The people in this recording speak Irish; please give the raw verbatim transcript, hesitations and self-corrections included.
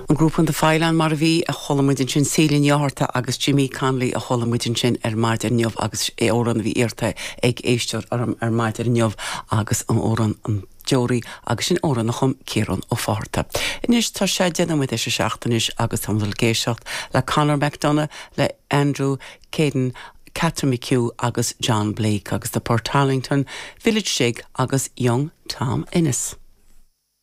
An grúpa The Faghleann mar a bhí a chuala muid ansin Celia Ní Fhátharta agus Jimmy Connolly a chuala muid ansin ar maidin inniu agus é amhrán a bhí iarrtha ag éisteoir orm ar maidin inniu agus an amhrán an Deoraí agus sin amhrán a chum Ciarán Ó Fátharta. Anois tá sé déanamh tar éis a seacht anois agus tá ag éisteacht le Conor McDonough le Andrew Caden, Catherine McHugh agus John Blake agus the Portarlington, Village Jig agus Young Tom Ennis.